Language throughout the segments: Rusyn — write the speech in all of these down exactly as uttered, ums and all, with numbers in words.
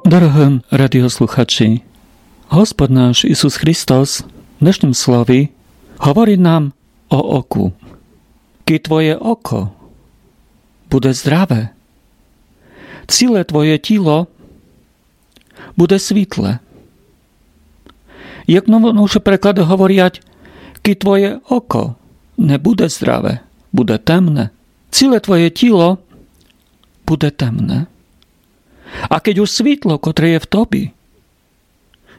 Дорогы радіослухачі, Господь наш Ісус Христос в днешнім слові говорить нам о оку. Кідь твоє око буде здраве, ціле твоє тіло буде світле. Як нові переклады говорять, кідь твоє око не буде здраве, буде темне, ціле твоє тіло буде темне. А кідь уж світло, котре є в тобі,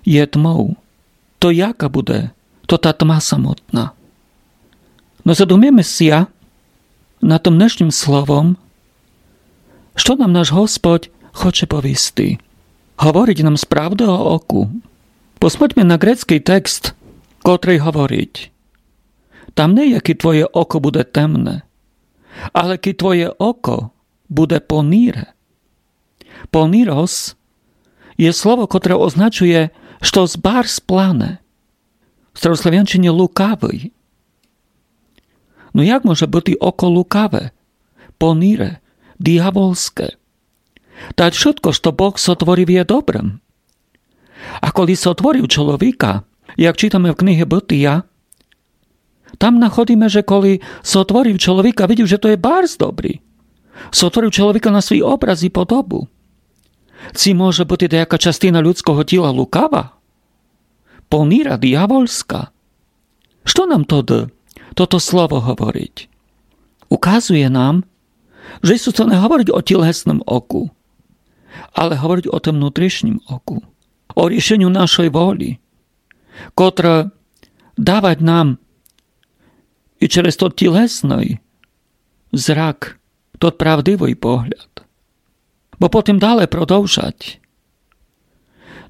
є тмов, то яка буде то та тма самотна? Но задуміме ся над тым днешнім словом, што нам наш Господь хоче повісти. Говорить нам справды о оку. Посмотрме на грецькый текст, котрый говорить: там не є, кідь твоє око буде темне, але кідь твоє око буде поніре. Понірос є слово, котре означує штось барз плане. В старославянщині лукавый. Но як може быти око лукаве, поніре, діявольске? Та вшытко, што Бог сотворив, є добрым. А коли сотворив чоловіка, як читаме в книзі Бытія, там находиме, же коли сотворив чоловіка, видів, же то є барз добрі. Сотворив чоловіка на свій образ і подобу. Ци може быти даяка частина людского тіла лукава, поніра, діявольска? Што нам тоды тото слово говорить? Указує нам, же Ісус то не говорить о тілесным оку, але говорить о тым внутрішнім оку, о рішеню нашой волі, котре давать нам і через тот тілесный зрак тот правдивый погляд. Бо потім дале продовжать: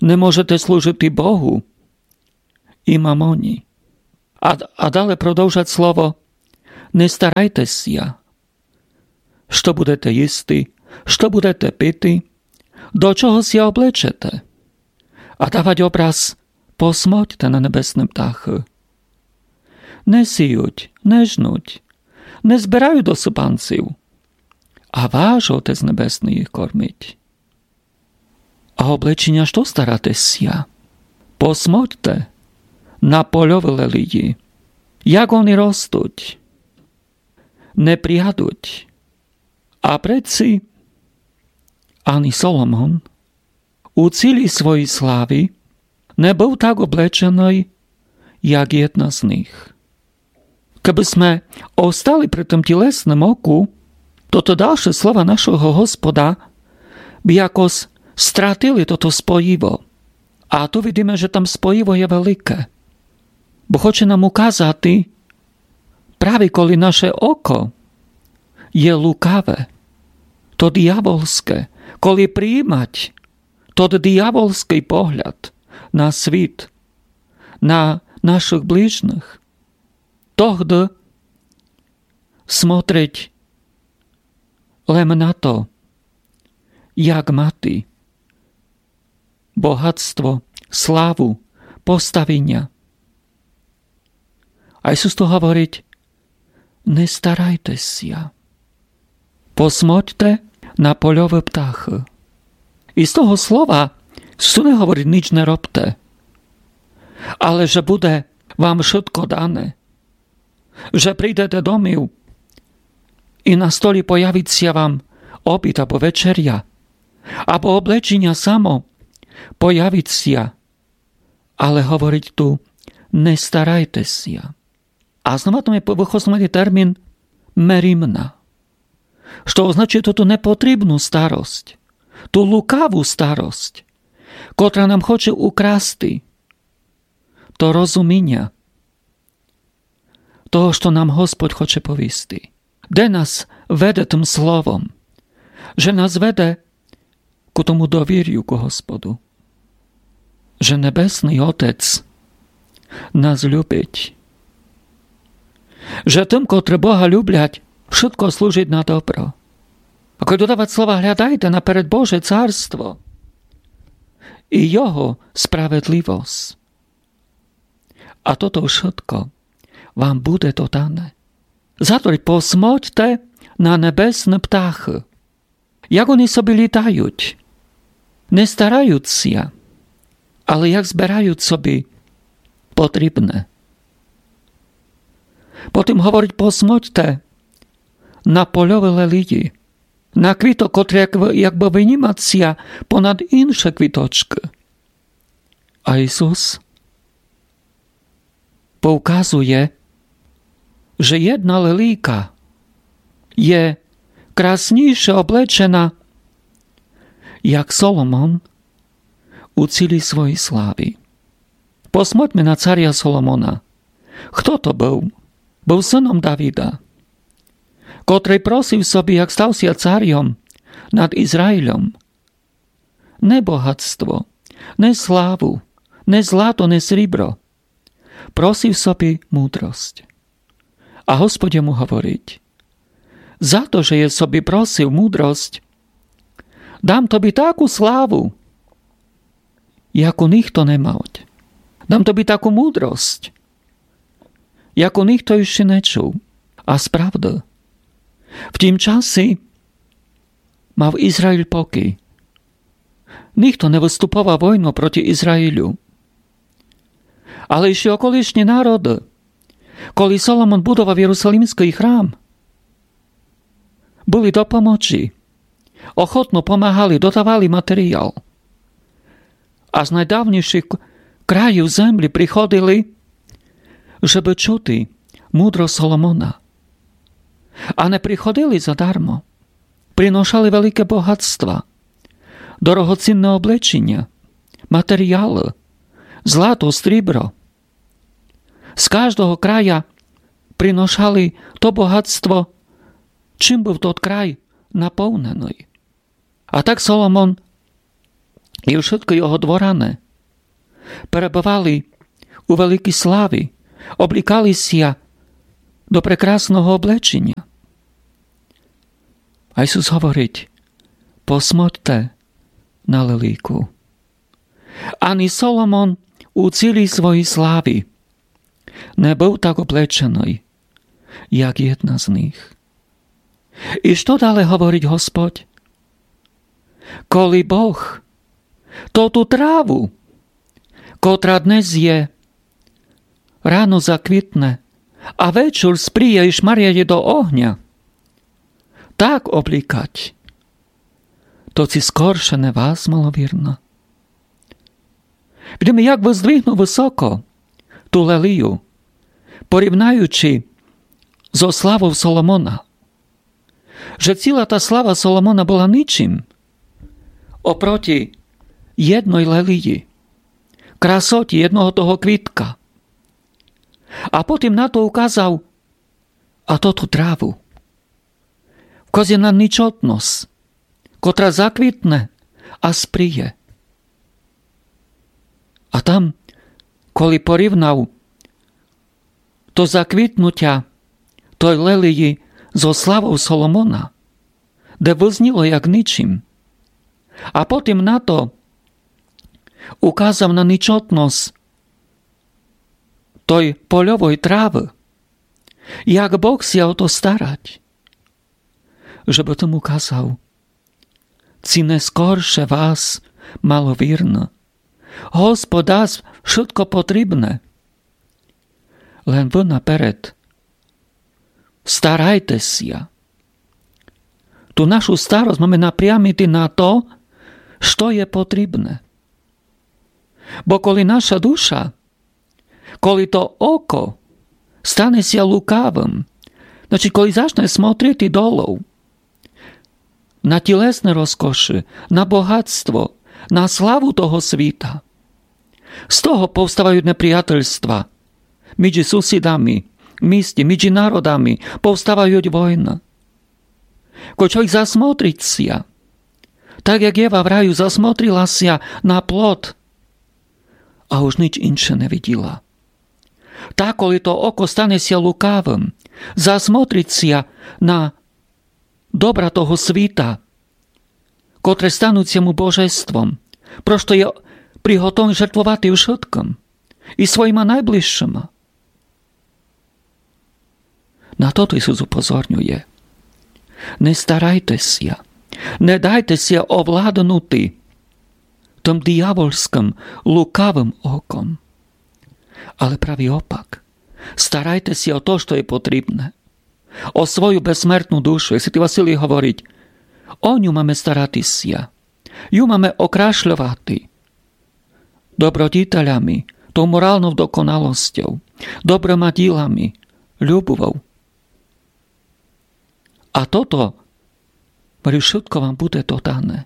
не можете служити Богу і мамоні. А, а дале продовжать слово: не старайте ся, што будете їсти, што будете пити, до чого ся облечете. А давать образ: посмотрте на небесны птахы. Не сіють, не жнуть, не збирають до супанців, а ваш Отець Небесный їх кормить. А облеченя што старате ся? Посмотрте на польовы лелії, як они ростуть, не прядуть. А предці ани Соломон у цілій своїй славі не быв так облеченый, як єдна з них. Кебы сме остали при тым тілесным оку, то, то дальше слова нашого Господа бы якось стратили тото споїво. А ту видиме, же там споїво є велике. Бо хоче нам указати, праві коли наше око є лукаве, то діявольске, коли приїмать тот діявольскый погляд на світ, на нашых ближніх, тогды смотрить лем на то, як мати богатство, славу, поставіня. А Ісус то говорить: не старайте ся. Посмотрте на польовы птахы. І з того слова Ісус не говорить: ніч не робте, але же буде вам вшытко дане, же прийдете домів і на столі появить ся вам обід або вечеря, або облеченя само появить ся, але говорить ту: не старайте ся. А знова там є выходить термін меримна, што означує ту, ту непотрібну старость, ту лукаву старость, котра нам хоче украсти то розуміня того, што нам Господь хоче повісти. Де нас веде тым словом? Же нас веде ку тому довірю ку Господу. Же Небесный Отець нас любить. Же тым, котры Бога люблять, вшытко служить на добро. А коли додавать слова: глядайте наперед Боже царство і Його справедливость, а тото вшытко вам буде додане. Затворить: посмотрте на небесны птахы, як они собі літають. Не старають ся, але як збирають собі потрібне. Потім говорить: посмотьте на польові лелії, на квіток, котрі як бы, якбы вынімать ся понад інші квіточкы. А Ісус повказує, же єдна лелійка є краснійше облечена, як Соломон у цілій своїй славі. Посмотьме на царя Соломона. Хто то быв? Быв сыном Давида, котрый просив собі, як став ся царьом над Ізраїлем, не богатство, не славу, не злато, не срібро. Просив собі мудросць. А Господь йому говорить: за то, же єс собі просив мудросць, дам тобі таку славу, яку нихто не мав. Дам тобі таку мудросць, яку нихто іщи не чув. А справді, в тім часі мав Ізраїль покій. Нихто не выступовав войну проти Ізраїлю. Але іщи околишні народы, коли Соломон будовав Єрусалимськый храм, были до помочи, охотно помагали, додавали матеріял. А з найдавнішых к-, країв землі приходили, жебы чути мудросць Соломона. А не приходили задармо. Приношали велике богатства, дорогоцінне облеченя, матеріялы, злато, стрібро. З каждого края приношали то богатство, чим быв тот край наповненый. А так Соломон і вшыткы його дворяне перебывали у великій славі, облікали ся до прекрасного облеченя. А Ісус говорить: посмотьте на лелійку. Ани Соломон у цілій своїй славі не быв так облеченый, як єдна з них. І што дале говорить Господь? Коли Бог тоту траву, котра днес є, рано заквітне, а вечур спріє і шмаряє до огня, так облікать, то ци скорше не вас, маловірна. Видиме, як выздвигнув высоко ту лелію, порівнаючи зо славов Соломона, же ціла та слава Соломона была ничим опроти єдной лелії, красоті єдного того квітка. А потім на то указав: а тоту траву. Вказує на ничотносц, котра заквітне, а спріє. А там, коли порівнав то заквітнутя той лелії зо славов Соломона, де вызніло як ничим, а потім на то указав на ничотносц той польовой травы, як Бог ся о то старать, жебы тым указав: ци не скорше вас, маловірна, Господь дасть вшытко потрібне. Лем вы наперед старайте ся. Ту нашу старосц маме напрямити на то, што є потрібне. Бо коли наша душа, коли то око стане ся лукавым, значить, коли зачне смотрити долов на тілесне розкоші, на богатство, на славу того світа, з того повставають неприятельства між сусідами, в місті, між народами, повставають войны. Кой чоловік засмотрить ся, так як Єва в раю засмотрила ся на плод, а уж нич інше не виділа. Так, коли то око стане ся лукавым, засмотрить ся на добра того світа, котре стануть ся му божеством, просто є приготовный жертвовати вшыткым, і своїма найближшыма. На тото Ісус упозорнює. Не старайте ся, не дайте ся овладнути тым диявольскым, лукавым оком. Але праві опак. Старайте ся о то, што є потрібне. О свою безсмертну душу, як святый Василій говорить, о ню маме старати ся. Ю маме окрашльовати добродітелями, тою моралною доконалостю, добрыма ділами, любову. А тото, варю, вшытко вам буде додане.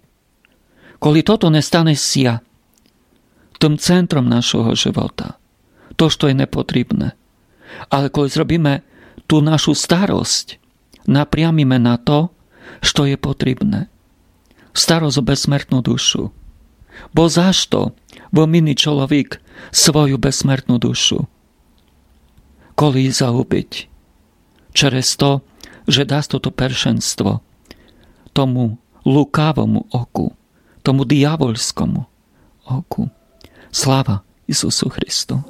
Коли тото не стане ся тым центром нашого живота, то, што є непотрібне, але коли зробиме ту нашу старость, напрямиме на то, што є потрібне. Старость о безсмертну душу. Бо за што вымінить чоловік свою безсмертну душу? Коли ї загубить? Через то, же даст тото першенство тому лукавому оку, тому диявольскому оку. Слава Ісусу Христу!